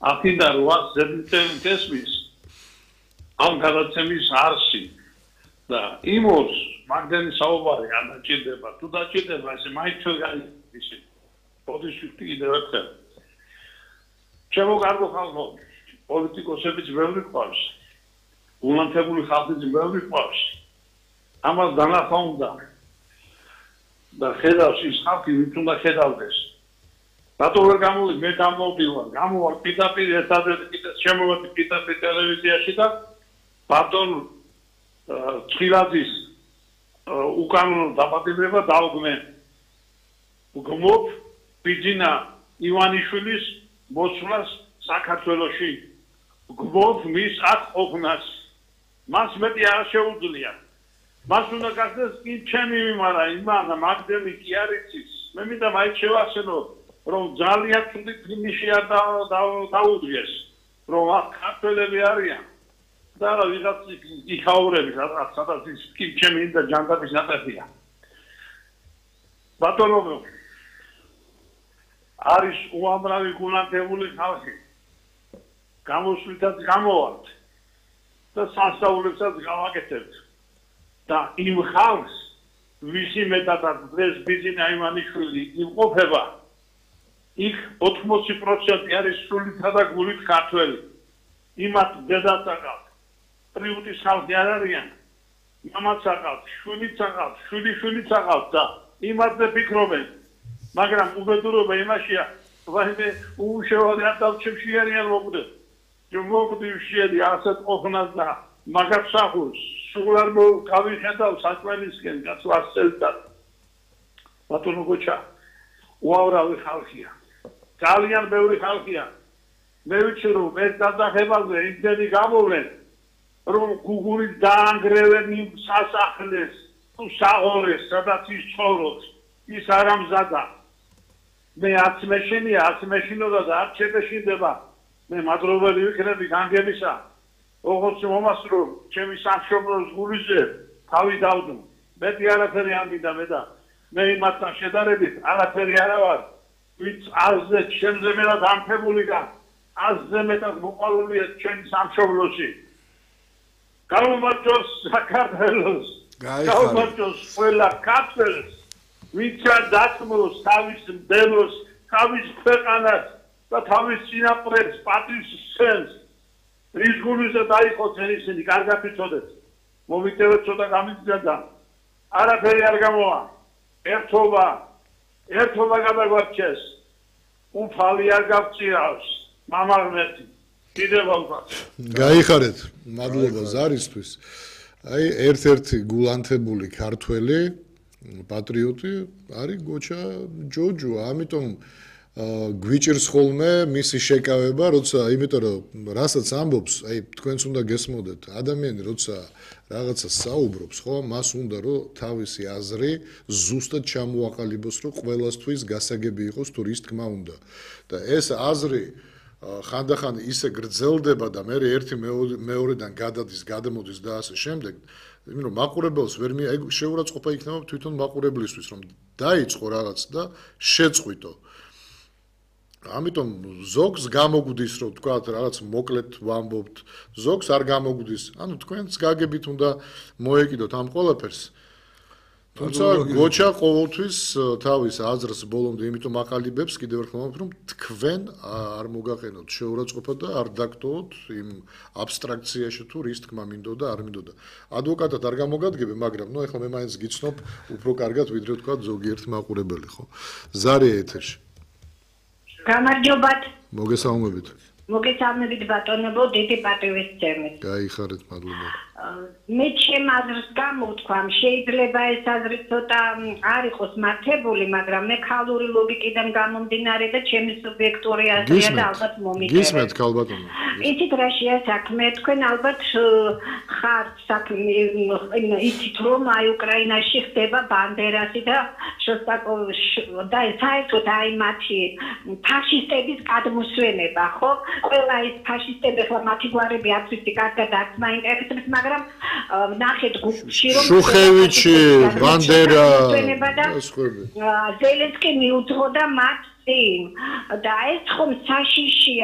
აქედან 8 ზედმიწევნით ესმის ამ გადაცემის არსი და იმოს მაგდენი საუბარი არ დაჭირდება თუ დაჭირდება ესე მაინც ვერ გაიგებთ პოზიციური კიდევ ერთხელ ჩემო კარგო ხალხო პოლიტიკოსებიც ბევრი ყავს გულანთებული ხალხიც ბევრი ყავს ამას განახვა უნდა და ხედავს ის ხალხი ვინც უნდა ხედავდეს რატო ვერ გამოდი მე გამოვდივარ გამოვალ პირდაპირ ერთადერთი კიდე შემოვედი პირდაპირ ტელევიზიაში და ბატონ ცხილაძის უკანონო დაპატიმრება დაუგმე გმობ ბიძინა ივანიშვილის მოსვლას საქართველოში გმობ მის აქ ყოფნას მას მეტი არ შეუძლია მას უნდა გახდეს კი ჩემი მიმარა იმანა მაგდენი კი არ იცის მე მინდა მაინც შევახსენო რომ ძალიან ცუდი ფინიში არ დაუდგეს რომ აქ ქართველები არიან და რა ვიღაც იქაურები სადაც ის კი ჩემი და ჯანდაბის ნაყოფია ბატონო არის უამრავი გულანთებული ხალხი გამოსვლითაც გამოვალთ და სასწაულებსაც გავაკეთებთ და იმ ხალხს ვისი მეტადად დღეს ბიძინა ივანიშვილი იმყოფება იქ 80% არის სულითა და გულით ქართველი იმათ დედაც აკალთ პრიუტის ხალხი არ არიან მამაც აკალთ შვილიც აკალთ შვილიშვილიც აკალთ და იმათზე ფიქრობენ მაგრამ უბედურობა იმაშია ვაიმე უშევარი არ დავჩებში არიან მოკვდეთ მოგდი შედი ასეთ ყოფნას და მაგაფსახურს სულ არ გავიხედავ საჭმელისკენ გასვასწელდა ბატონო გოჩა უამრავი ხალხია ძალიან ბევრი ხალხია მე ვიცი რომ ეს გადაღებაზე იმდენი გამოვლენ რომ გუგულის დაანგრევენ იმ სასახლეს თუ საღოლეს სადაც ის ცხოვრობს ის არ ამზადა მე არც მეშინია არც მეშინოდა და არც შეეშინდება მე მადლობელი ვიქნები განგებისა როგორც მომასწრო ჩემი სამშობლოს გულიზე თავი დავდო მეტი არაფერი ამბიდა მე და მე იმასთან შედარებით არაფერი არა ვარ ვინც აზზე ჩემზე მეტად ამფებული და აზზე მეტად მოყოლულია ჩემი სამშობლოში გამომართოს საქართველოს გამომართოს ყველა ქართველს ვინც დათმოს თავის მდელოს თავის ქვეყანას და თავის წინაპრებს პატივს სცემს რის გულზე დაიხოცენ ისინი კარგად იცოდეთ მომიტევეთ ცოტა გამიძდა და არაფერი არ გამოვა ერთობა გადაგვარჩეს უფალი არ გავწირავს მამაღმერთი კიდევ ალბათ გაიხარეთ მადლობა ზარისთვის აი ერთ-ერთი გულანთებული ქართველი პატრიოტი არის გოჩა ჯოჯო ამიტომ გვიჭირს ხოლმე მისი შეკავება, როცა იმიტომ რომ რასაც ამბობს, აი თქვენც უნდა გესმოდეთ, ადამიანი როცა რაღაცა საუბრობს, ხო, მას უნდა რომ თავისი აზრი ზუსტად ჩამოაყალიბოს, რომ ყველასთვის გასაგები იყოს თუ რის თქმა უნდა. და ეს აზრი ხანდახან ისე გრძელდება და მე ერთი მეორედან გადადის, გადამოდის და ასე შემდეგ. იმიტომ რომ მაყურებელს ვერ შეურაცხყოფა იქნება თვითონ მაყურებლისთვის, რომ დაიწყო რაღაც და შეწყვიტო. ამიტომ ზოგს გამოგვდის რომ თქვა რაღაც მოკლედ ვამბობთ ზოგს არ გამოგვდის ანუ თქვენც გაგებით უნდა მოეკიდოთ ამ ყველაფერს თუმცა გოჩა ყოველთვის თავის აზრს ბოლომდე იმიტომ აყალიბებს კიდევ ერთხელ რომ თქვენ არ მოგაყენოთ შეურაცხყოფა და არ დაგტოვოთ იმ აბსტრაქციაში თუ რის თქმა მინდოდა არ მინდოდა ადვოკატად არ გამოგადგები მაგრამ ნუ ეხლა მე მაინც გიცნობ უფრო კარგად ვიდრე თქვა ზოგიერთი მაყურებელი ხო ზარია ეთერში გამარჯობათ. მოგესალმებით. მოგესალმებით ბატონებო, დიდი პატივისცემით. გაიხარეთ, მადლობა. მე ჩემ აზრს გამოვთქვამ, შეიძლება ეს აზრი ცოტა არ იყოს მართებული, მაგრამ მე ქალური ლოგიკიდან გამომდინარე და ჩემი სუბიექტური აზრია და ალბათ მომიგებთ. გისმენთ ქალბატონო. იცით რა შეა საქმე, თქვენ ალბათ ხართ საქმე იცით რომ აი უკრაინაში ხდება ბანდერასი და შოსტაკოვი და საერთოდ აი მათი ფაშისტების გადმოსვენება, ხო? ყველა ის ფაშისტები ხლა მათი გვარები არც ვიცი კარგად არც მაინტერესებს, მაგრამ ნახეთ გუშინ რომ შუხევიჩი, ბანდერა ზელენსკი მიუძღოდა მათ წინ და ეს ხომ საშიშია